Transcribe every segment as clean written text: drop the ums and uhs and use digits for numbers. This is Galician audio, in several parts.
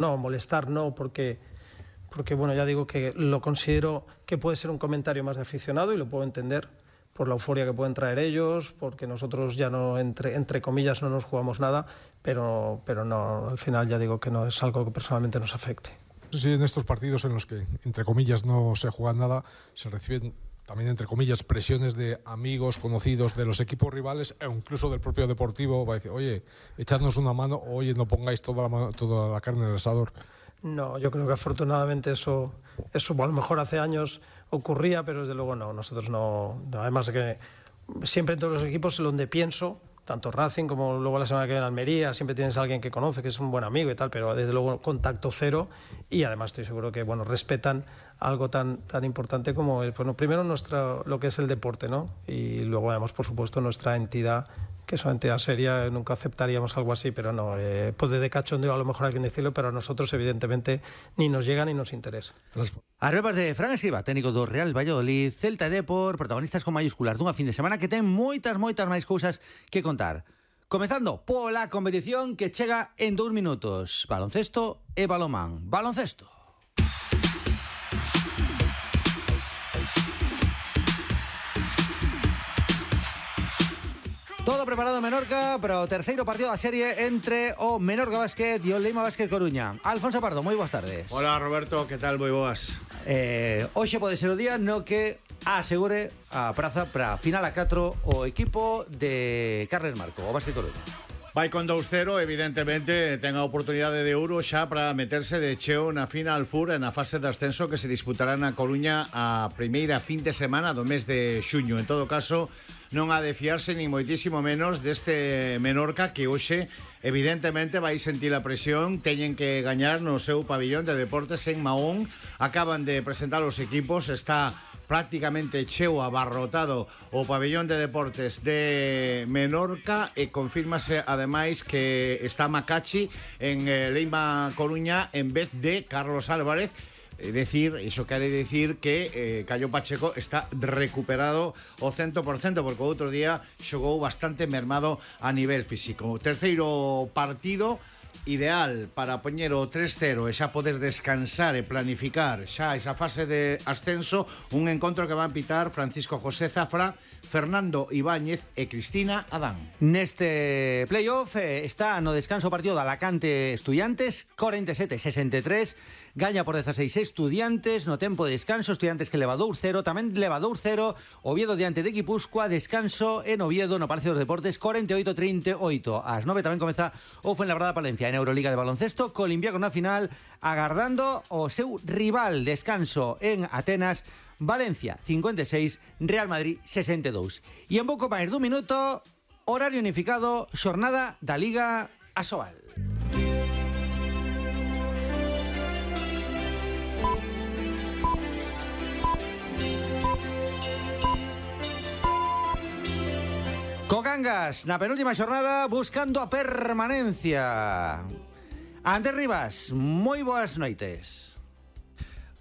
No, molestar no, porque bueno, ya digo que lo considero que puede ser un comentario más de aficionado y lo puedo entender por la euforia que pueden traer ellos, porque nosotros ya no, entre comillas, no nos jugamos nada, pero no, al final ya digo que no es algo que personalmente nos afecte. Sí, en estos partidos en los que, entre comillas, no se juega nada, se reciben también, entre comillas, presiones de amigos, conocidos de los equipos rivales e incluso del propio Deportivo para decir, oye, echadnos una mano, oye, no pongáis toda la carne en el asador. No, yo creo que afortunadamente eso a lo mejor hace años ocurría, pero desde luego no, nosotros no. Además de que siempre en todos los equipos donde pienso, tanto Racing como luego la semana que viene en Almería, siempre tienes a alguien que conoce, que es un buen amigo y tal, pero desde luego contacto cero, y además estoy seguro que respetan algo tan importante como primero lo que es el deporte, ¿no? Y luego además, por supuesto, nuestra entidad, que es una entidad seria, nunca aceptaríamos algo así, pero no, puede de cachondeo a lo mejor alguien decirlo, pero a nosotros evidentemente ni nos llega ni nos interesa. As verbas de Fran Escribá, técnico do Real Valladolid, Celta e Depor, protagonistas con mayúsculas dunha fin de semana que ten moitas máis cousas que contar. Comezando pola competición que chega en 2 minutos. Baloncesto e balonmán. Baloncesto. Todo preparado en Menorca para o terceiro partido da serie entre o Menorca Basket e o Leima Basket Coruña. Alfonso Pardo, moi boas tardes. Hola Roberto, que tal? Moi boas. Hoxe pode ser o día no que asegure a praza para final a 4 o equipo de Carles Marco, o Basket Coruña. Vai con 2-0, evidentemente ten a oportunidade de ouro xa para meterse de cheo na Final Four e na fase de ascenso que se disputará na Coruña a primeira fin de semana do mes de xuño. En todo caso, non ha de fiarse ni moitísimo menos deste Menorca que hoxe evidentemente vai sentir a presión, teñen que gañar no seu pabillón de deportes en Mahón. Acaban de presentar os equipos, está prácticamente cheo, abarrotado o pabillón de deportes de Menorca e confírmase ademais que está Macachi en Leima Coruña en vez de Carlos Álvarez. Es decir, iso quere decir que Cayo Pacheco está recuperado ao 100%, porque o outro día xogou bastante mermado a nivel físico. Terceiro partido ideal para poñer o 3-0 e xa poder descansar e planificar xa esa fase de ascenso, un encontro que van pitar Francisco José Zafra, Fernando Ibáñez e Cristina Adán. Neste playoff está no descanso o partido de Alacante Estudiantes, 47-63, gaña por 16 Estudiantes, no tempo de descanso, Estudiantes que leva 2-0, tamén leva 2-0, Oviedo diante de Guipúzcoa, descanso en Oviedo no Palacio dos Deportes, 48-38, ás 9 tamén comeza o Fuenlabrada Palencia en Euroliga de baloncesto, Colimbiaco na final, agardando o seu rival, descanso en Atenas, Valencia 56, Real Madrid 62. E en pouco máis dun minuto, horario unificado, xornada da Liga Asobal. Co Cangas, na penúltima xornada, buscando a permanencia. Andrés Rivas, moi boas noites.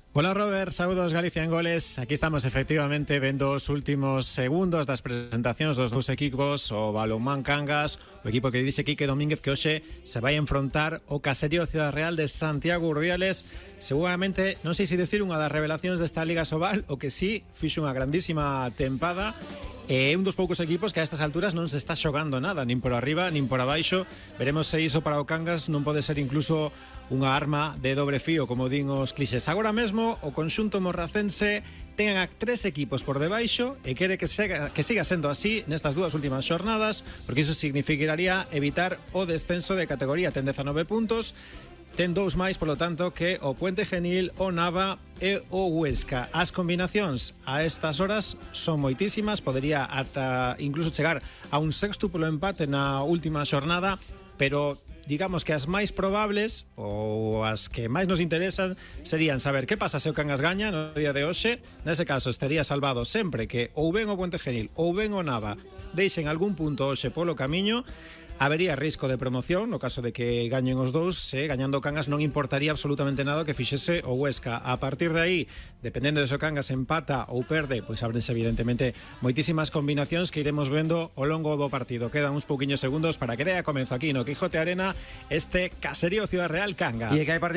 Hola Robert, saúdos Galicia en Goles. Aquí estamos efectivamente vendo os últimos segundos das presentacións dos dous equipos, o Balonmán Cangas, o equipo que dixe Quique Domínguez que hoxe se vai enfrontar o Caserío Ciudad Real de Santiago Urdiales. Seguramente, non sei se dicir unha das revelacións desta Liga Sobal, o que sí, fixo unha grandísima tempada. É un dos poucos equipos que a estas alturas non se está xogando nada, nin por arriba, nin por abaixo. Veremos se iso para o Cangas non pode ser incluso unha arma de dobre fío, como din os clixés. Agora mesmo, o conxunto morracense ten a 3 equipos por debaixo e quere que siga sendo así nestas dúas últimas xornadas, porque iso significaría evitar o descenso de categoría. Ten 19 puntos, ten 2 máis, polo tanto, que o Puente Genil, o Nava e o Huesca. As combinacións a estas horas son moitísimas, podería ata incluso chegar a un sextuplo empate na última xornada, pero digamos que as máis probables ou as que máis nos interesan serían saber que pasa se o Cangas gaña no día de hoxe. Nese caso estaría salvado sempre que ou ben o Puente Genil ou ben o Nava deixen algún punto hoxe polo camiño. Habería risco de promoción no caso de que gañen os dous. Gañando o Cangas non importaría absolutamente nada que fixese o Huesca. A partir de aí, dependendo de se o Cangas empata ou perde, pois ábrense evidentemente moitísimas combinacións que iremos vendo ao longo do partido. Quedan uns pouquiños segundos para que dea comezo aquí no Quijote Arena este Caserío Ciudad Real Cangas. E que hai partido